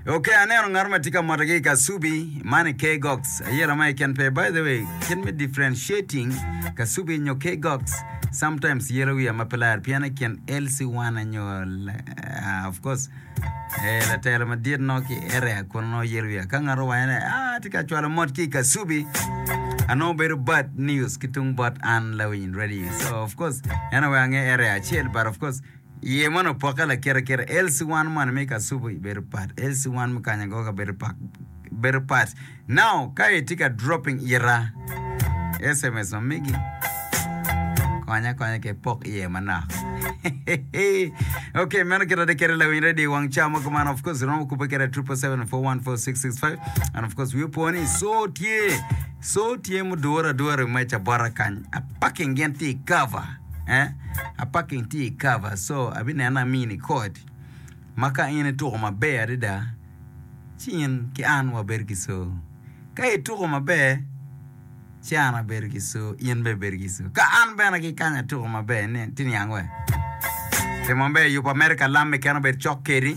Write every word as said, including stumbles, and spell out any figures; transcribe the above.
Ok, aneno ngat ma tye ka moto ki i Kasubi, man i K-Gox. Ayela ma keken pe. By the way, kit me differentiating Kasubi nyo K-Gox, sometimes yelo wiya ma pe lar pien i kin L C one nyo uh, of course eh, latelo madit no ki area kun no yelo wiya. Ka ngat owaco ni, ah, tye ka cwalo mot ki i Kasubi, anongo bedo bad news ki tung bot an lawiny radio. So of course, en awe ange area acel, but of course, iye mono opokke lakite kite. L C one moni me Kasubi bedo pat. L C one me Kanyagoga bedo pak bedo pat. Now, ka itye ka dropping ira S M S ma megi, konya konya ke pok iye manok. Okay, meno kit ade kede lawiny radio wang ca mo kuman. Of course, romo kubbe kede triple seven four one four six six five. And of course, wiyo po ni so tye so tye mudure adura i meja bota kany. Apaking gin tye i cover. Eh? Apaking tye i cover. So, abineno amini code ma ka in ituko maber adada, ci in ki an wabedo ki so. Ka ituko maber, ci an abedo ki so, in bene ibedo ki so. Ka an bene ki kany atuko maber, ni tye niang we. Timo maber, yubo America lam keken obed cok kedi.